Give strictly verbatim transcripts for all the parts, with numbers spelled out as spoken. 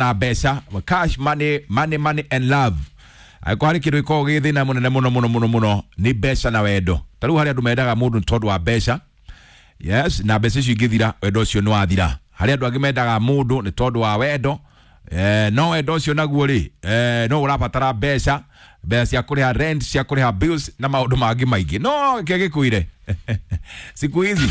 Na mbeca, cash, money, money, money and love. Angĩkorwo harĩ kĩndũ gĩkoragwo gĩ thĩna mũnene mũno mũno mũno mũno, nĩ mbeca na wendo. Ta rĩu harĩ andũ mendaga mũndũ nĩ tondũ wa mbeca, yes, na mbeca icio ingĩthira, wendo ũcio nĩ wathira. Harĩ andũ angĩ mendaga mũndũ nĩ tondũ wa wendo, eh, no wendo ũcio naguo rĩ, eh, no ũrabatara mbeca, mbeca cia kũrĩha rent, cia kũrĩha bills na maũndũ mangĩ maingĩ. No kĩo gĩkuire siku hizi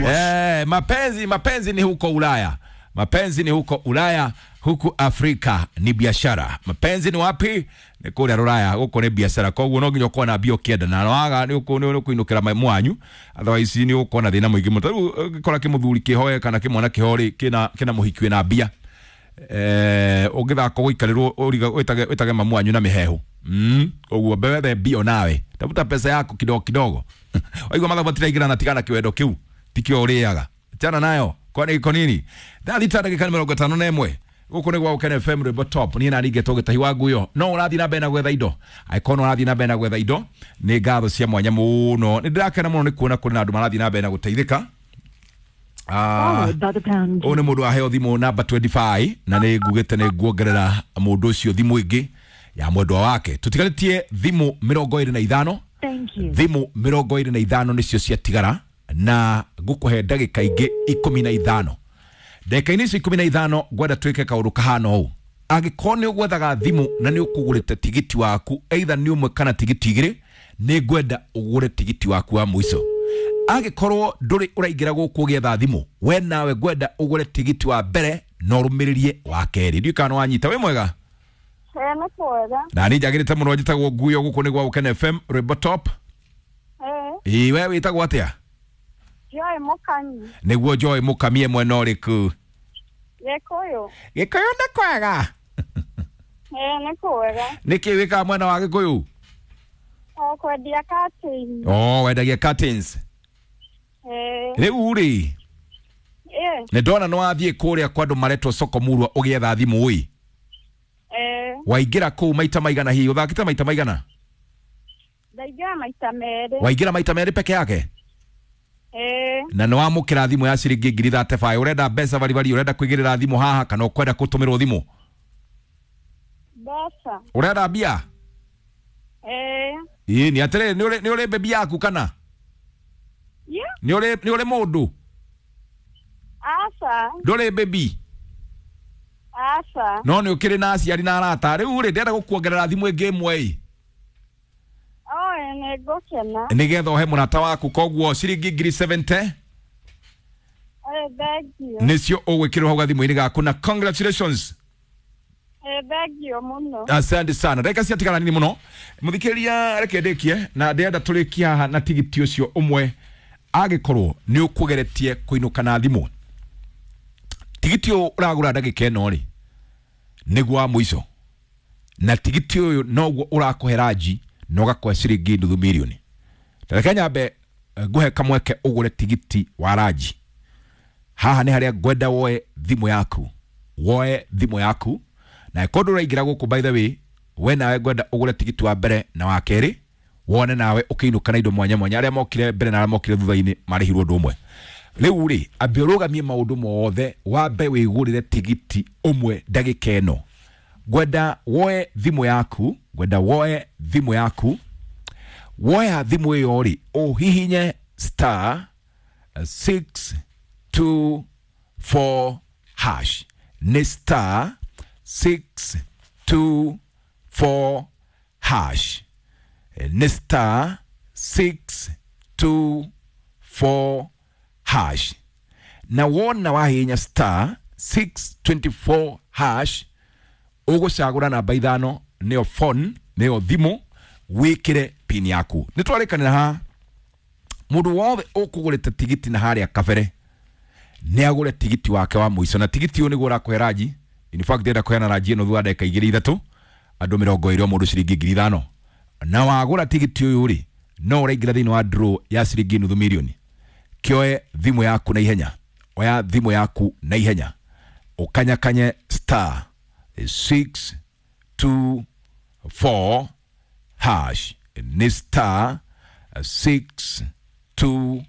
eh, mapenzi mapenzi ni huko Ulaya, mapenzi ni huko Ulaya, huku Afrika ni biashara. Mapenzi ni wapi? Ni kũrĩa Rũraya, gũkũ nĩ biashara. Koguo no nginya ũkorwo na mbia ũkĩenda, na waga nĩ ũkũinũkĩra mwanyu, otherwise nĩ ũgũkorwo na thĩna mũingĩ mũno. Tarĩu ũngĩkora kĩmũthuri kĩhoe kana kĩmwana kĩho rĩ, kĩna kĩna mũhiki wĩna mbia, eh, ũngĩthaka gũikarĩrwo wĩtage wĩtage mamu wanyu na mĩhehu. Mm, ũguo wethe mbia nawe, tafuta pesa yako kidogo kidogo. Waigua mathabu matiraingĩrana, tigana kĩwendo kĩu tikĩo ũrĩaga, achana nayo. Kwani iko nini? Thaa thita ndagĩka mĩrongo ĩtano na ĩmwe, gũkũ nĩ gwa Gũkena F M, rwĩmbo top. Niĩ nani ngetwo Gĩtahi wa Nguyo. No ũrathiĩ na mbere na gwetha indo, angĩkorwo no ũrathiĩ na mbere na gwetha indo, nĩ ngatho cia mwanya mũno. Nĩ ndĩrakena mũno nĩ kuona kũrĩ na andũ marathiĩ na mbere na gũteithĩka. Ah, ũyũ nĩ mũndũ waheo thimũ namba mĩrongo ĩĩrĩ na ithano, na nĩ ngugĩte nĩ nguongerera mũndũ ũcio thimũ ĩngĩ ya mwendwa wake. Tũtigarĩtie thimũ mĩrongo ĩrĩ na ithano. Thimũ mĩrongo ĩrĩ na ithano nĩcio ciatigara, na ngũkũhe ndagĩka ingĩ ikũmi na ithano. Ndagĩka-inĩ icio ikũmi na ithano ngwenda twĩke kaũndũ kahana ũũ. Angĩkorwo nĩ ũgwethaga thimũ na nĩ ũkũgũrĩte tigiti waku, either nĩ ũmwe kana tigiti igĩrĩ, nĩ ngwenda ũgũre tigiti waku wa mũico. Angĩkorwo ndũrĩ ũraingĩra gũkũ ũgĩetha thimũ, we nawe ngwenda ũgũre tigiti wa mbere na ũrũmĩrĩrie wa kerĩ. Ndiũĩ kana nĩ wanyita. Wĩ mwega? Ĩĩ, nĩ kwega. Na niĩ njagĩrĩte mũno. Njĩtagwo Nguyo, gũkũ nĩ gwa Gũkena F M, rwĩmbo top. Ĩĩ. Ĩĩ, we wĩtagwo atĩa? Joy Mũkanyi. Nĩguo, Joy Mũkamie, mwena ũrĩkũ? Gĩkũyũ. Gĩkũyũ nĩ kwega? Ĩĩ, nĩ kwega. Nĩkĩ wĩkaga mwena wa Gĩkũyũ? O kwendia curtain. Oh, wendagia curtains? Ĩĩ. Rĩu rĩ, Ĩĩ. nĩ ndona nĩ wathiĩ kũrĩa kwa andũ maretwo soko murwa ũgĩetha thimũ ĩ. Ĩĩ. Waingĩra kũu maita maigana? Hihi ũthakĩte maita maigana? Ndaingĩra maita merĩ. Waingĩra maita merĩ peke yake? Ĩĩ. Na nĩ wamũkĩra thimũ ya ciringi ngiri thate baĩ. Ũrenda mbeca baribari, ũrenda kũigĩrĩra thimũ haha, kana ũkwenda gũtũmĩrwo thimũ? Mbeca. Ũrenda mbia? Ĩĩ. Ĩĩ, nĩ atĩrĩrĩ, nĩ ũrĩ nĩ ũrĩ bebi yaku kana Yeah. nĩ ũrĩ nĩ ũrĩ mũndũ? Aca. Ndũrĩ bebi? Aca. No nĩ ũkĩrĩ na aciari na arata. Rĩu rĩ, ndĩrenda gũkuongerera thimũ ĩngĩ ĩmwe ĩ. Oe, nĩ ngũkena. Nĩgetha ũhe mũrata waku. Koguo ciringi ngiri mĩrongo mũgwanja Ĩĩ, thank you. nĩcio ũgwĩkĩrwo hau gathimũ-inĩ gaku, na congratulations. Ĩĩ, thank you mũno. Asante sana. Ndagĩka ciatigara nini mũno, mũthikĩrĩria, reke ndĩkie na ndĩrenda tũrĩkie haha na tigiti ũcio ũmwe. Angĩkorwo nĩ ũkũgeretie kũinũka na thimũ, tigiti ũyũ ũragũra ndagĩka ĩno rĩ, nĩguo wa mũico, na tigiti ũyũ noguo ũrakũhe ranji na ũgakũhe ciringi nuthu mirioni. Reke nyambe eh, ngũhe kamweke ũgũre tigiti wa ranji. Haha nĩ harĩa ngwenda woe thimũ yaku, woe thimũ yaku, na ĩkorwo ndũraingĩra gũkũ, by the way, we nawe ngwenda ũgũre tigiti wa mbere na wa kerĩ, wone nawe ũkĩinũka na indo mwanya mwanya. Arĩa mokire mbere na arĩa mokire thutha-inĩ marĩhirwo ũndũ ũmwe. Rĩu rĩ, ambe ũrũgamie maũndũ mothe, wambe wĩgũrĩre tigiti ũmwe. Ndagĩka ĩno ngwenda woe thimũ yaku, ngwenda woe thimũ yaku. Woya thimũ ĩyo rĩ, ũhihinye star six two four hash. Nĩ star six two four hash, nĩ star six two four hash. Na wona wahihinya star six twenty-four hash, ũgũcagũra namba ithano, nĩyo phone, nĩyo thimũ, wĩkĩre pin yaku. Nĩ twarĩkanĩra haha, mũndũ wothe ũkũgũrĩte tigiti na harĩa kabere nĩ agũre tigiti wake wa mũico, na tigiti ũyũ nĩguo ũrakũhe ranji. In fact, ndĩrenda kũheana ranji ĩno thutha wa ndagĩka igĩrĩ ithatũ, andũ mĩrongo ĩrĩ, o mũndũ ciringi ngiri ithano. Na wagũra tigiti ũyũ rĩ, no ũraingĩra thĩinĩ wa draw ya ciringi nuthu mirioni. Kĩoe thimũ yaku na ihenya, oya thimũ yaku na ihenya, ũkanyakanye star six two four hash. Nĩ star six two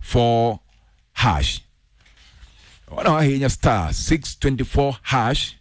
four hash. Wona wahihinya star six twenty-four hash.